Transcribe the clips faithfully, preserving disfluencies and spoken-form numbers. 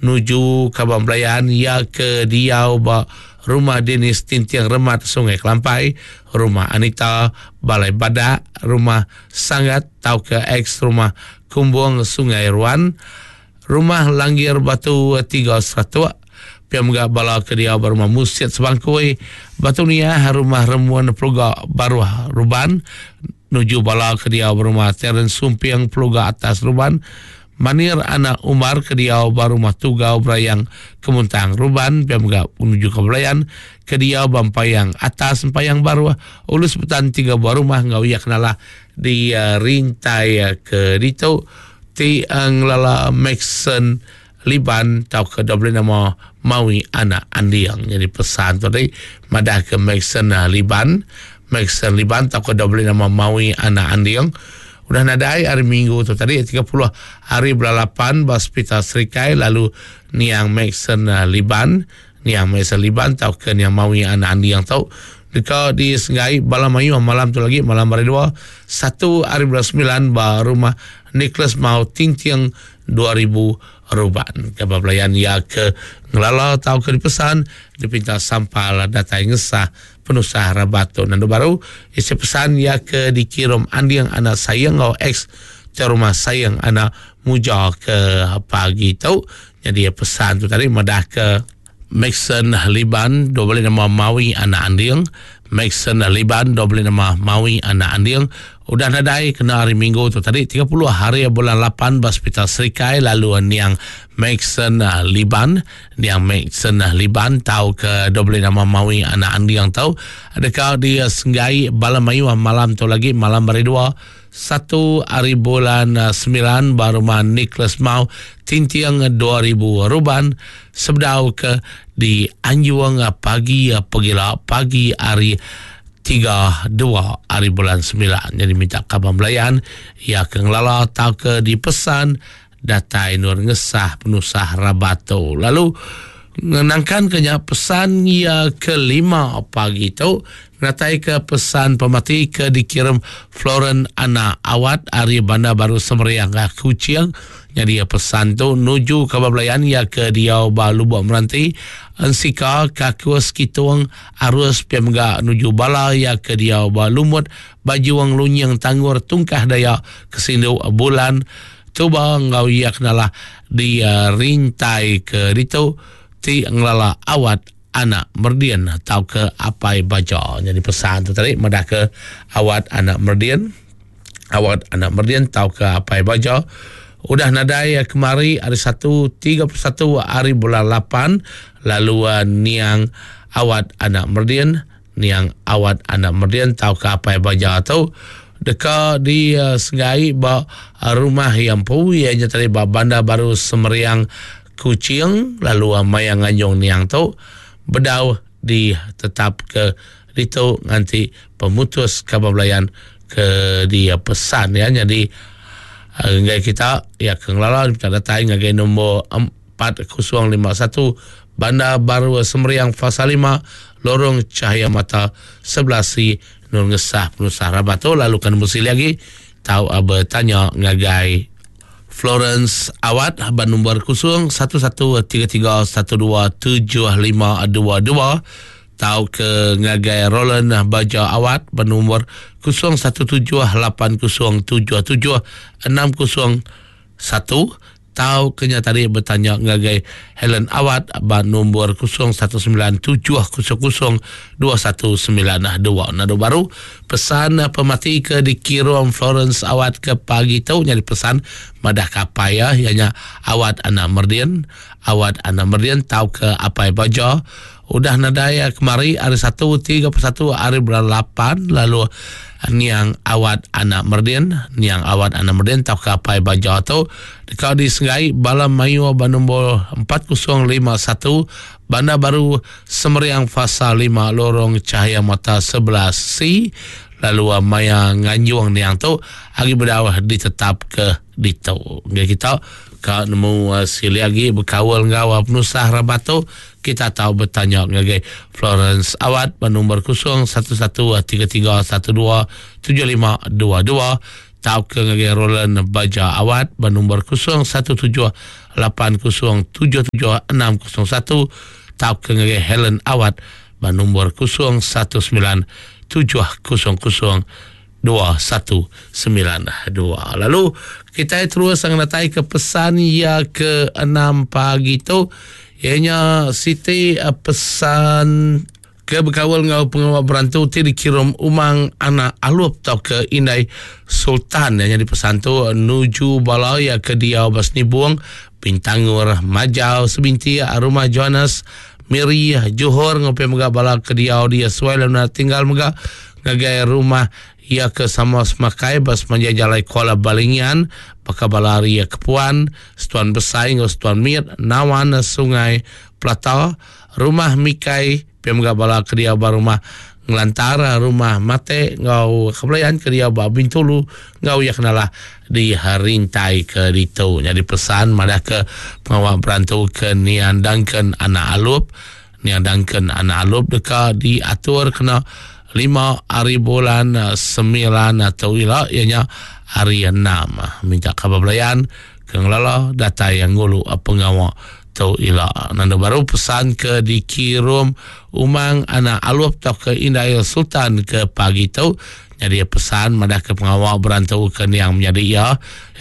Nuju Kabang Belayan ya ke diau ba Rumah Denis Tinting Remat Sungai Kelampai, Rumah Anita Balai Badak, Rumah Sangat tau ke ex Rumah Kumbung Sungai Ruan, Rumah Langgir Batu tiga Seratuk, pia mega bala ke diau ba Rumah Musit Sebangkui, Batu Niah, Rumah Remun Peluga Baruh Ruban, nuju bala ke diau ba Rumah Terence Sumping Peluga Atas Ruban, Manir Anak Umar ke diau ba Rumah Tugau Berayang Kemuntang Ruban, pia mega menuju ke Belayan ke diau ba Empayang Atas Empayang Baruh Ulus Betan tiga buah rumah ngau ia kenalah di uh, rintai uh, ke ditu ti uh, ngelala Maxon Liban tau ke double nama Mawi Anak Andiang. Jadi pesan tu tadi madah ke Maxon uh, Liban, Maxon Liban tau ke double nama Mawi Anak Andiang udah nadai hari Minggu tu tadi tiga puluh hari bulan lapan ba Hospital Serikai, lalu niang Maxon uh, Liban, niang Maxon Liban tau ke niang Mawi Anak Andiang tau deka disenggai bala mayu malam tu lagi malam hari dua satu hari bulan sembilan ba rumah Nicholas Mau Tinting dua ribu Ruban. Khabar pelayan ya ke ngelala tau ke dipesan dipinta sampal datai ngesah penusah rabat tu. Nandu baru isi pesan ya ke dikirim Andiang anak sayang ngau ex ke rumah sayang anak muja ke pagi tu. Jadi pesan tu tadi madah ke Maxon Liban dua boleh nama Mawi anak Andiang, Maxon Liban dua boleh nama Mawi anak Andiang udah nadai kena hari Minggu tu tadi tiga puluh hari bulan lapan ba Hospital Serikai, lalu niang Maxon Liban, niang Maxon Liban tau ke dua boleh nama Mawi anak Andiang tau adakah dia senggai bala mayu malam tu lagi malam hari dua satu hari bulan sembilan ba rumah Nicholas Mau Tintiang dua ribu Ruban sebedau ke di Anjuang pagi pegila pagi hari tiga dua hari bulan sembilan. Jadi minta kabar belayan ya ke ngelala tau ke dipesan datai nur ngesah penusah rabato. Lalu ngenangkan kenya pesan ya kelima pagi tu natai ke pesan pemati ke dikirim Floren Anak Awat ari Bandar Baru Semeriang ke Kuching. Jadi pesan tu nuju kabar belayan ya ke diau ba Lubuk Meranti Ensika Kakus Kitung Arus pia mega nuju bala ya ke diau ba Lumut Bajuang Lunying Tanggur Tungkah Daya Kesindu Bulan Tuba ngau ya kenalah di uh, rintai ke ditu ti ngelala Awat Anak Merdian atau ke Apai Baja. Jadi pesan tu tadi madah ke Awat Anak Merdian, Awat Anak Merdian atau ke Apai Baja udah nadai kemari hari satu tiga puluh satu hari bulan lapan, lalu uh, niang Awat Anak Merdian, niang Awat Anak Merdian atau ke Apai Baja tu deka di uh, senggai ba uh, rumah yang pui ianya tadi ba Bandar Baru Semeriang Kuching, lalu uh, mayang nganjung niang tu bedau di tetap ke ditu nganti pemutus kabar belayan ke dia pesan ya. Jadi ngai kita ya ke ngelala minta datai ngagai nombor empat kosong lima satu Bandar Baru Semeriang Fasa lima Lorong Cahaya Mata sebelas C Nur Ngesah Penusah Rabato. Lalu kan mesti lagi tahu bertanya ngagai Florence Awat ban nombor kosong satu satu tiga tiga satu dua tujuh lima dua dua tau ke ngagai Roland Baja Awat ban nombor kosong satu tujuh lapan kosong tujuh tujuh enam kosong satu tau kenya tadi bertanya ngagai Helen Awat ban nombor kosong satu sembilan tujuh kosong kosong dua satu sembilan dua. Nado baru pesan pemati ke dikirim Florence Awat ke pagi tu nyari pesan madah kapai ya ianya Awat Anak Merdian, Awat Anak Merdian tau ke Apai Baja udah nadai kemari hari satu tiga puluh satu hari bulan lapan, lalu niang Awat Anak Merdian, niang Awat Anak Merdian tau ke Apai Baja tu dekat di Senggai Balam Mayu nombor empat kosong lima satu Bandar Baru Semeriang Fasa lima Lorong Cahaya Mata sebelas C, lalu maya nganjuang niang tu hari berdawah ditetap ke ditu. Ngai kita ka nemu uh, sili lagi berkawal ngau penusah rabato kita tahu bertanya ngagai Florence Awat nombor kosong satu satu tiga tiga satu dua tujuh lima dua dua tau ke ngagai Roland Baja Awat bernombor kosong satu tujuh lapan kosong tujuh tujuh enam kosong satu tau ke ngagai Helen Awat bernombor kosong satu sembilan tujuh kosong kosong dua satu sembilan dua. Lalu kita terus datai ke pesan ya ke enam pagi tu ianya Siti pesan ke berkawal ngau pengawal berantu ti dikirim umang anak alup tau ke Indai Sultan yang jadi pesan tu nuju balaya ke dia Basnibung Bintangur Majau Sebinti Rumah Johannes Miri Johor ngopi mega bala ke dia dia suai lalu tinggal mega ngagai rumah ia ke sama semakai bas manja jalai Kuala Balingian baka balari Kepuan Setuan Besai ngau Setuan Mir Nawan Sungai Plata Rumah Mikai pemga bala ke dia ba rumah Ngelantara rumah Mate ngau kebelayan ke dia ba Bintulu ngau ia kenalah di Rintai ke ditu. Jadi pesan madah ke pengawal berantu ke Nian Duncan anak Alup. Nian Duncan anak Alup deka diatur kena lima hari bulan sembilan atau ila ianya hari enam. Minta khabar belayan ke ngelala datai yang ngulu pengawal tu ila. Nanda baru pesan ke dikirim umang anak alup atau ke Indai Sultan ke pagi tu. Jadi pesan madah ke pengawal berantu ke niang menjadi ia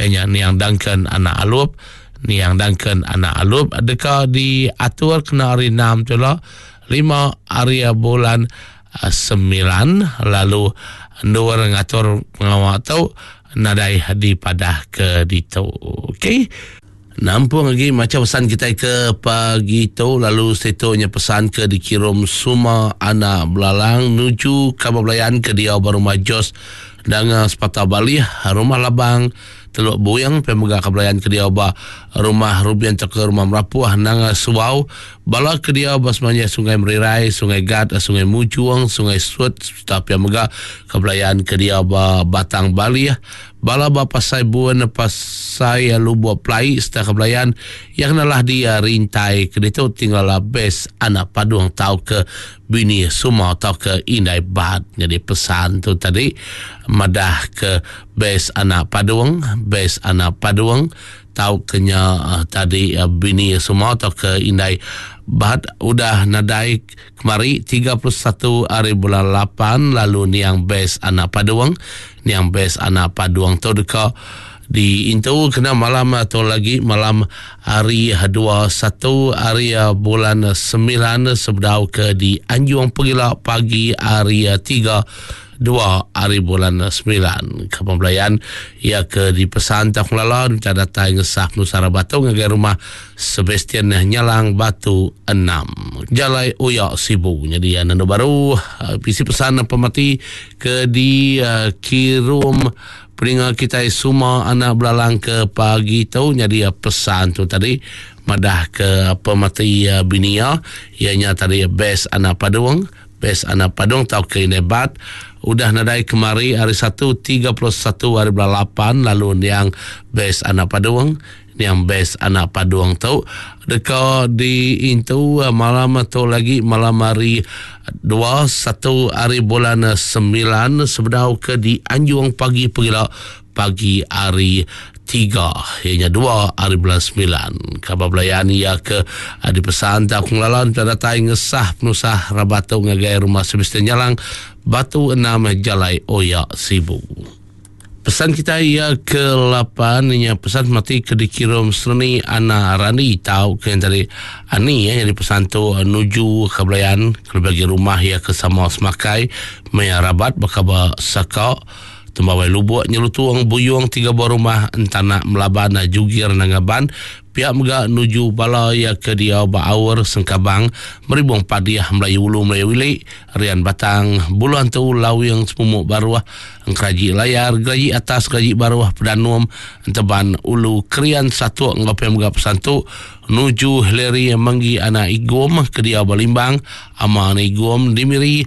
ianya Niang Duncan anak Alup. Niang Duncan anak Alup deka diatur kena hari enam tu lah lima hari bulan sembilan lalu endur ngatur pengawal tu nadai dipadah ke ditu. Okey. Nampung lagi macam pesan kita ke pagi tu lalu setunya pesan ke dikirim semua anak belalang nuju kabar belayan ke dia baru Majos dengan Sepatah Bali Rumah Labang Teluk Buyang pemegah kebelayan ke dia ba Rumah Rubian ke Rumah Merapuh Nanga Suau bala ke dia ba semuanya Sungai Merirai Sungai Gat Sungai Mujuang Sungai Sut serta pemegah kebelayan ke dia ba Batang Bali bala ba Pasai Buan Pasai Lubuk Plai serta kebelayan yang nalah dia rintai ke ditu tinggal bes anak padung tau ke bini semua tau ke Indai Bat. Jadi pesan tu tadi madah ke bes anak padung bes anak padung tau kenya uh, tadi uh, bini semua tau ke Indai Bat udah nadai kemari tiga puluh satu hari bulan lapan lalu niang bes anak padung niang bes anak padung tu deka di intu kena malam atau lagi malam hari dua puluh satu hari bulan sembilan sebedau ke di Anjung Pegila pagi hari tiga dua hari bulan sembilan. Kepembelayan ia ke di pesan tak lala minta datang ngesah Nusara Batu ngagai rumah Sebastian Nyalang Batu enam Jalai Uyak Sibu. Jadi anda baru isi pesan pemati ke di uh, kirum peninga kita semua anak belalang ke pagi tu. Jadi pesan tu tadi madah ke pemati binia ianya tadi bes anak padung bes anak padung tau ke nebat udah nadai kemari hari satu tiga puluh satu hari bulan lapan lalu yang bes anak padung yang bes anak padung tu deka di intu malam tu lagi malam hari dua satu hari bulan sembilan sebedau ke di Anjung pagi pegila pagi hari tiga ianya dua hari bulan sembilan. Khabar belayan ia ke di pesan tak pengalalan pada datai ngesah penusah rabatu ngagai rumah Sebastian Nyalang Batu enam Jalai Oyak Sibu. Pesan kita ia ke lapan ianya pesan mati ke dikirim serni anak Rani tahu ke yang tadi ani ya jadi pesan tu nuju ke belayan ke bagi rumah ia ke sama semakai maya rabat bakaba saka tembawai lubuk nyelutuang buyung tiga buah rumah entana melaban jugir nangaban pihak mega nuju bala ya ke dia baawur sengkabang meribung padiah Melayu Ulu Melayu Wilik Rian Batang Buluan tu Lawing Semumuk Baruah Engkeraji Layar Geraji Atas Geraji Baruah Pedanum Enteban Ulu Krian satu ngapem mega pesan tu nuju Hillary Menggi anak Igom ke dia Balimbang ama anak Igom Dimiri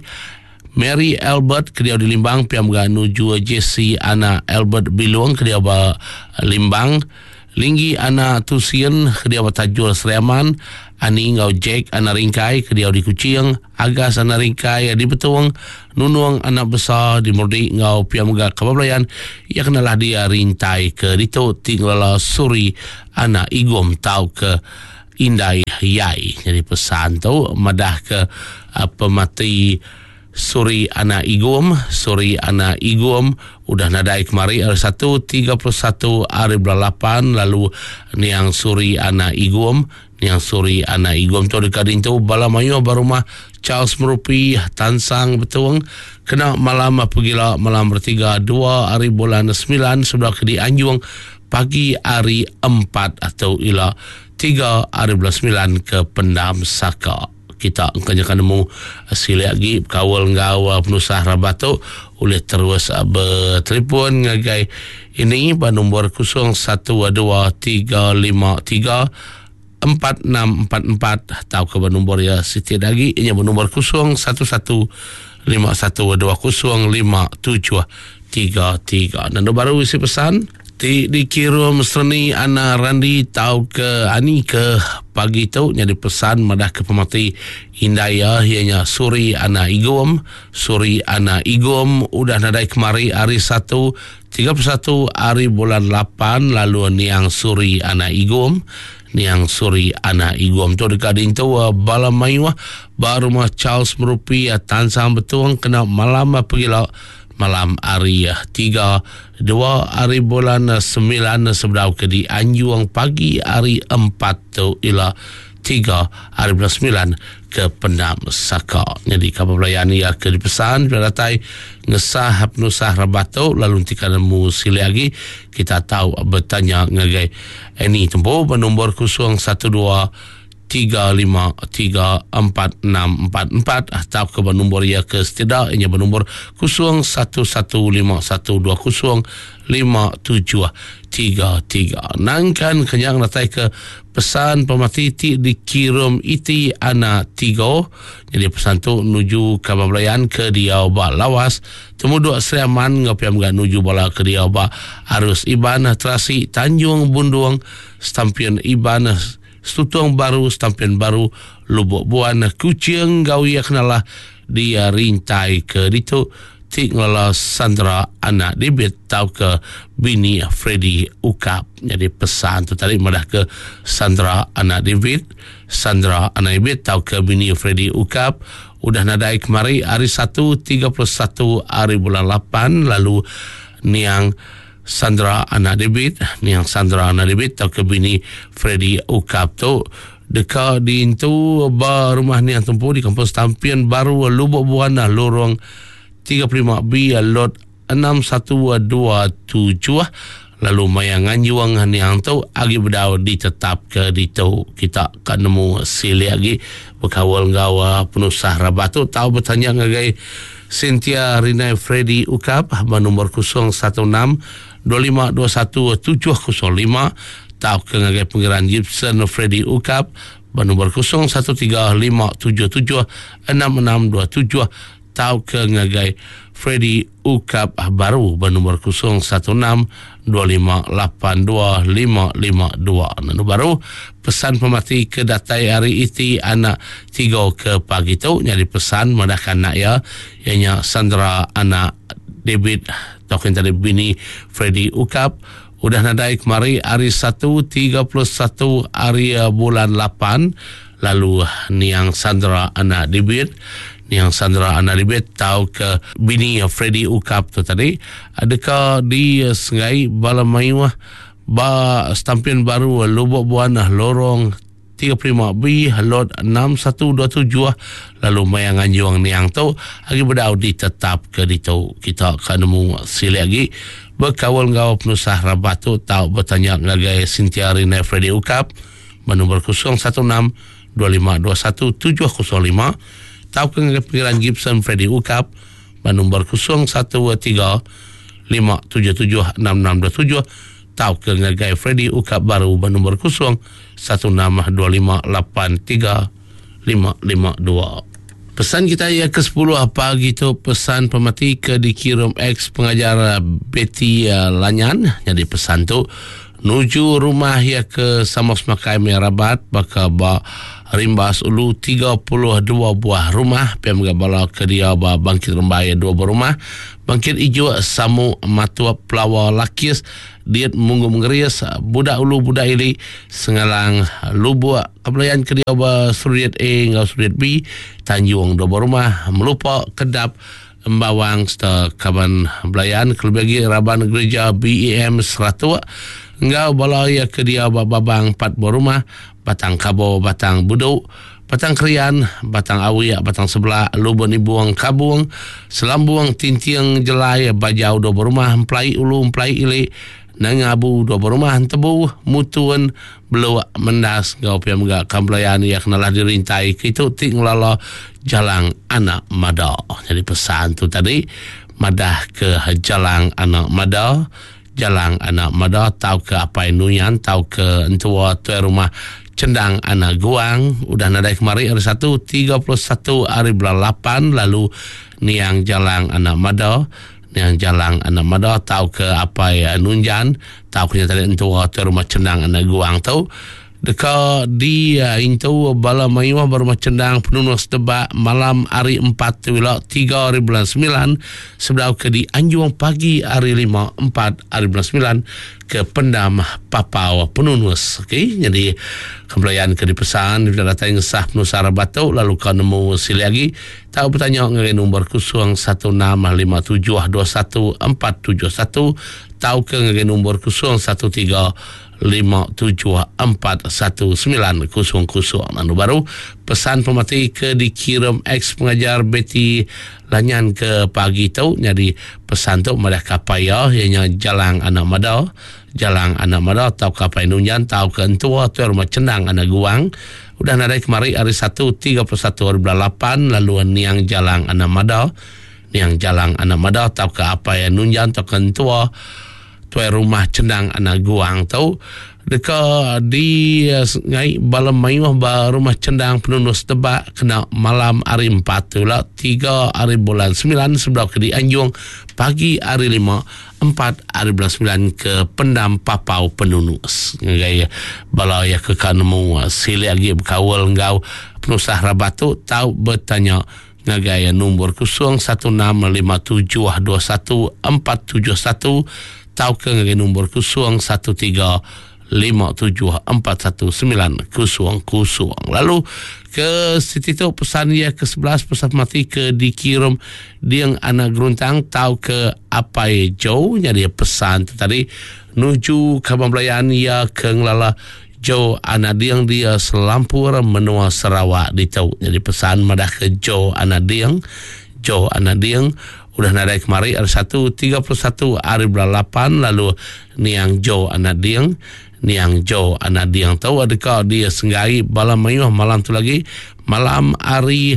Mary Albert ke dia di Limbang pihak mega nuju Jesse anak Albert Bilung ke dia Limbang Linggi anak Tusien ke dia Tajul Seriaman, Ani ngau Jack anak Ringkai ke dia di Kuching, Agas anak Ringkai di Betung, Nunung anak besar di Murdi ngau pia mega Kabablayan ia kenalah dia rintai ke ditu tinglala Suri anak Igum tau ke Indai Yai. Jadi pesan tu madah ke uh, pemati Suri anak Igum, Suri anak Igum udah nadai kemari hari satu tiga puluh satu hari bulan lapan lalu niang Suri anak Igum, niang Suri anak Igum tu dekat dintu bala mayu barumah Charles Merupi Tansang Betung kena malam pegila malam bertiga dua hari bulan sembilan sudah ke di Anjung pagi hari empat atau ila tiga hari bulan sembilan ke Pendam Saka. Kita engkau nemu silik lagi kawal ngau penusah rabatuk oleh terus bertelefon ngagai ini pada nombor kosong satu dua tiga lima tiga empat enam empat empat atau ke nombor ya Siti lagi ini bernombor kosong satu satu lima satu dua kosong lima tujuh tiga tiga. Dan baru isi pesan ti dikirim serni Ana Randi tau ke ani ke pagi tu jadi pesan madah ke pemati Indaya ianya Suri Ana Igum, Suri Ana Igum udah nadai kemari hari satu tiga puluh satu hari bulan lapan lalu niang Suri Ana Igum, niang Suri Ana Igum tu dekat dintu bala mayuah ba rumah Charles Merupi Tansang Betung kena malam pergila malam hari tiga dua hari bulan sembilan sebedau ke di Anjuang pagi hari empat tu ila tiga hari bulan sembilan ke Pendam Saka. Jadi kapal pelayan ya ke dipesan bila datai ngesah penusah rabatu lalu nanti nemu sili lagi kita tahu bertanya ngagai ini tempo bernombor kosong satu dua tiga lima tiga empat enam empat empat atau ke nombor ia ke setidak ianya bernombor kosong satu satu lima satu dua kosong lima tujuh tiga tiga. Nangkan kenyang datai ke pesan pemati ti dikirim iti ana tiga. Jadi pesan tu nuju kabar belayan ke dia ba lawas temuduk Seriaman ngapiam ga nuju bala ke dia ba arus Iban Terasi Tanjung Bundung Stampion Iban Stutung Baru Stampion Baru Lubuk Buan Kucing Gawi kenalah dia rintai ke ditu tik ngela Sandra anak Debit tau ke bini Freddy Ukap. Jadi pesan tu tadi madah ke Sandra anak David, Sandra anak David tau ke bini Freddy Ukap udah nadai kemari hari satu tiga puluh satu hari bulan lapan lalu niang Sandra anak David, niang Sandra anak David tau ke bini Freddy Ukap tu deka diintu ba rumah niang tempu di kampung Stampion Baru Lubuk Buana lorong tiga puluh lima B lot enam satu dua tujuh lalu maya nganjuang niang tu agi bedau ditetap ke ditu kita kan nemu silik lagi berkawal ngau penusah rabatu tau bertanya ngagai Cynthia Rinai Freddy Ukap bernombor kosong satu enam dua lima dua satu tujuh kosong lima tau ke ngagai Pengiran Gibson Freddy Ukap bernombor kosong satu tiga lima tujuh tujuh enam enam dua tujuh tau ke ngagai Freddy Ukap baru bernombor kosong satu enam dua lima lapan dua lima lima dua. Nanu baru pesan pemati ke datai hari iti anak tiga ke pagi tu jadi pesan madahkan anak ya ianya Sandra anak David token tadi bini Freddy Ukap udah nadai kemari hari satu tiga puluh satu hari bulan lapan lalu niang Sandra anak David, niang Sandra anak David tau ke bini Freddy Ukap tu tadi adakah di Sengai Bala Mayuah ba Stampion Baru Lubuk Buana lorong tiga puluh lima B lot enam satu dua tujuh lalu maya nganjuang niang tu agi bedau ditetap ke ditu kita ka nemu silik lagi berkawal ngau penusah rabat tu tau bertanya ngagai Cynthia Rina Freddy Ukap bernombor kosong satu enam dua lima dua satu tujuh kosong lima tau ke ngagai Pengiran Gibson Freddy Ukap bernombor kosong satu tiga lima tujuh tujuh enam enam dua tujuh tau ke ngagai Freddy Ukap baru bernombor kosong satu enam dua lima lapan tiga lima lima dua. Pesan kita ya ke sepuluh pagi tu pesan pemati ke dikirim ex pengajar Betty Lanyan. Jadi pesan tu Nuju rumah ya ke sama semakai Merabat baka ba Rimbas Ulu tiga puluh dua buah rumah P M G bala ke dia ba Bangkit Rembai dua buah rumah Bangkit Ijuk Samu Matua Pelawa Lakis Diet Munggu Mengeris Budak Ulu Budak Ili Sengalang Lubuk Kebelayan ke dia ba Suriat A ngau Suriat B Tanjung dua buah rumah Melupa Kedap Embawang serta kaban belayan kelebih lagi raban gereja B E M Seratuk ngau bala ya ke dia ba Babang empat buah rumah Batang Kabo, Batang Buduk, Batang Krian, Batang Awiak, Batang Sebelah, Lubun Ibuang Kabung, Selambung, Tinting, Jelai, Bajau dua buah rumah, Emplai Ulu, Emplai Ili, Nangabu dua buah rumah, Tebu, Mutun, Beluk, Mendas, ngau pia mega kambelayan ya kenalah dirintai kitu ti ngelala Jalang Anak Mada. Jadi pesan tu tadi madah ke Jalang Anak Mada, Jalang Anak Mada tau ke apai nuyan tau ke entua tuai rumah Cendang Anak Guang udah nadai kemari hari satu tiga puluh satu hari bulan lapan lalu niang Jalang Anak Mada niang Jalang Anak Mada tau ke apai nunjan tau ke tadi entua tuai rumah Cendang Anak Guang tu deka di uh, intu bala mayuh baru cendang penunus debak malam hari empat tu tiga hari bulan sembilan sebelum ke di Anjung pagi hari lima empat hari bulan sembilan ke Pendam Papau Penunus. Okey, jadi kembalian ke dipesan bila datang ngesah penusara batu lalu kau nemu sili lagi tahu bertanya dengan nombor kosong satu enam lima tujuh dua satu empat tujuh satu tahu ke dengan nombor kosong satu tiga lima tujuh empat satu sembilan kosong kosong. Anu baru pesan pemati ke dikirim ex pengajar Betty Lanyan ke pagi tu jadi pesan tu madah kapaya ianya Jalang Anak Mada, Jalang Anak Mada tau kapai nunyan tau ke entua tu rumah Cendang Anak Guang udah nadai kemari hari satu tiga puluh satu hari bulan lapan lalu niang Jalang Anak Mada, niang Jalang Anak Mada tau ke apai nunyan tau ke entua tuai rumah Cendang Anak Guang tu deka di ngai bala mayuh ba rumah Cendang Penunus Tebak kena malam hari empat tu lah tiga hari bulan sembilan sebelum ke di Anjung pagi hari lima empat hari bulan sembilan ke Pendam Papau Penunus ngai bala ya ke kanemu sili lagi berkawal ngau penusah rabatu tau bertanya ngagai nombor kosong satu enam lima tujuh dua satu empat tujuh satu tau ke ngagai nombor kosong satu tiga lima tujuh empat satu sembilan kosong kosong. Lalu ke situ tu pesan ia ke sebelas pesan mati ke dikirim diang anak geruntang tau ke apai jo jadi pesan tu tadi nuju kaban belayan ia ke ngelala Jo anak diang dia selampur menua Sarawak ditau. Jadi pesan madah ke Jo anak diang, Jo anak diang udah nadai kemari hari satu tiga puluh satu hari bulan lapan lalu niang Jo anak diang, niang Jo anak diang tahu adakah dia senggai bala mayuh malam tu lagi malam hari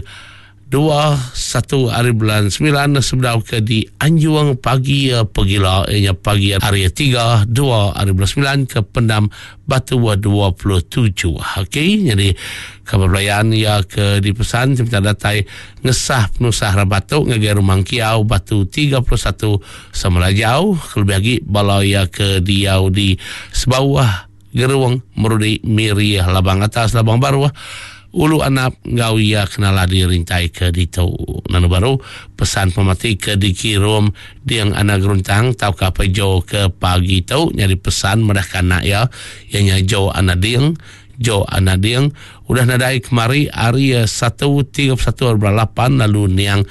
dua satu hari bulan sembilan sebelum ke di Anjuang pagi pegila ianya pagi hari tiga dua hari bulan sembilan ke Pendam Batu dua puluh tujuh. Okey, jadi kabar belayan ya ke dipesan minta datai ngesah penusah rabatu ngagai rumah Kiau Batu tiga puluh satu Semelajau kelebih lagi bala ya ke diau di sebawah Geruang Merudi Miri Labang Atas Labang Baru Ulu Anap ngau ia kenala dirintai ke ditu. Nanu baru pesan pemati ke dikirim diang anak geruntang tau ke apa jo ke pagi tu nyari pesan madah kanak ya ianya jo anak diang, jo anak diang udah nadai kemari hari satu tiga puluh satu hari bulan lapan lalu niang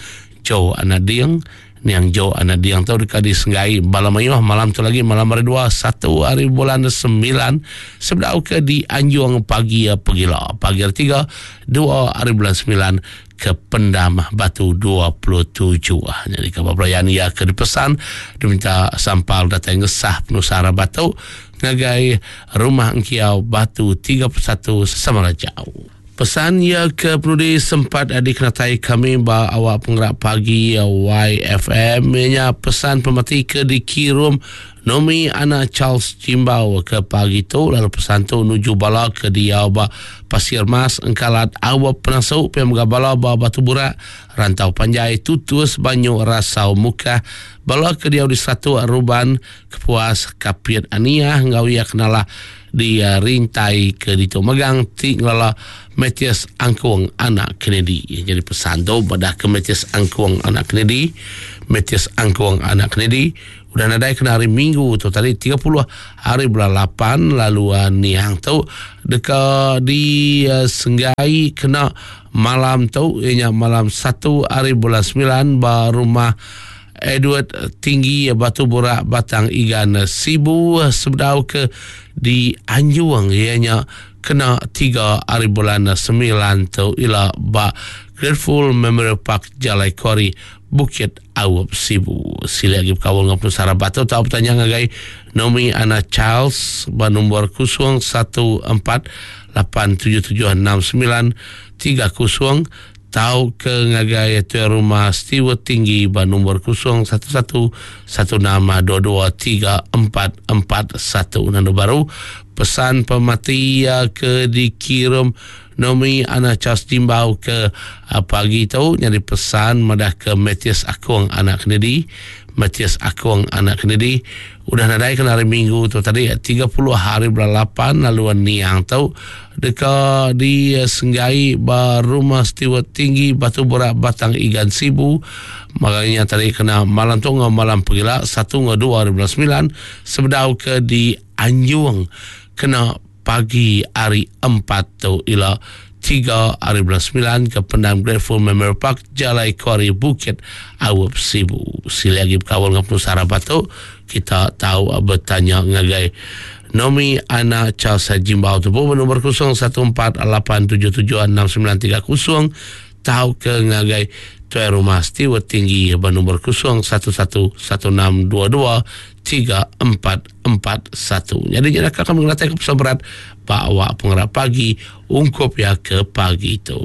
jo anak diang, niang jo anak diang tu dekat di Senggai bala mayuh malam tu lagi malam hari dua satu hari bulan sembilan sebelah ke di Anjung pagi pegila pagi hari tiga dua hari bulan sembilan ke Pendam Batu dua puluh tujuh. Jadi kabar pelayan ia ke dipesan diminta sampal datang ngesah penusara batu ngagai rumah Engkiau Batu tiga puluh satu Semarajau. Pesan ia ke penudi sempat dikenatai kami ba awak penggerak pagi Y F M ianya pesan pemati ke dikirim Nomi anak Charles Jimbau ke pagi tu lalu pesan tu nuju bala ke diau ba Pasir Mas Engkalat Awap Penasu pia mega bala ba Batu Burak Rantau Panjai Tutus Banyu Rasau Mukah bala ke diau di Satu Ruban Kepuas Kapit Aniah enggau iya kenalah di uh, rintai ke ditu megang ti ngelala Matthias Angkung anak Kennedy. Jadi pesan tu pada ke Matthias Angkung anak Kennedy. Matthias Angkung anak Kennedy udah nadai kena hari Minggu tu tadi tiga puluh hari bulan lapan lalu uh, niang tu deka di uh, Senggai kena malam tu ianya malam satu hari bulan sembilan ba rumah Edward Tinggi Batu Burak Batang Igan Sibu sebedau ke di Anjung ianya kena tiga hari bulan sembilan tu ila ba Grateful Memorial Park Jalai Kori Bukit Awap Sibu. Sila lagi berkawal dengan penusara batu atau bertanya ngagai Nomi Ana Charles ba nombor kosong satu empat lapan tujuh tujuh enam sembilan tiga kosong tau ke ngagai tuan rumah Stewart Tinggi ba nombor kosong satu satu satu enam dua dua tiga empat empat satu. Nando baru pesan pemati ke dikirim Nomi Ana Charles Jimbau ke pagi tu nyadi pesan madah ke Matthias Akung anak Kennedy. Matthias Akung anak Kennedy udah nadai kena hari Minggu tu tadi tiga puluh hari bulan lapan lalu niang tu deka di Senggai ba rumah Stewart Tinggi Batu Burak Batang Igan Sibu. Makanya tadi kena malam tu ngau malam pegila satu ngau dua hari bulan sembilan sebedau ke di Anjung kena pagi hari empat tu ila tiga hari bulan sembilan ke Pendam Grateful Memorial Park Jalai Kuari Bukit Awap Sibu. Sila lagi berkawal dengan penusara batu kita tahu bertanya ngagai Nomi Ana Charles Jimbau tu pun nombor kosong satu empat lapan tujuh tujuh enam sembilan tiga kosong tahu ke ngagai tuan rumah Stewart Tinggi bernombor kosong satu satu satu enam dua dua tiga empat empat satu. Jadi jangan kami mengelatih ke pesan berat Pak Awak Pengerak Pagi ungkup ya ke pagi itu.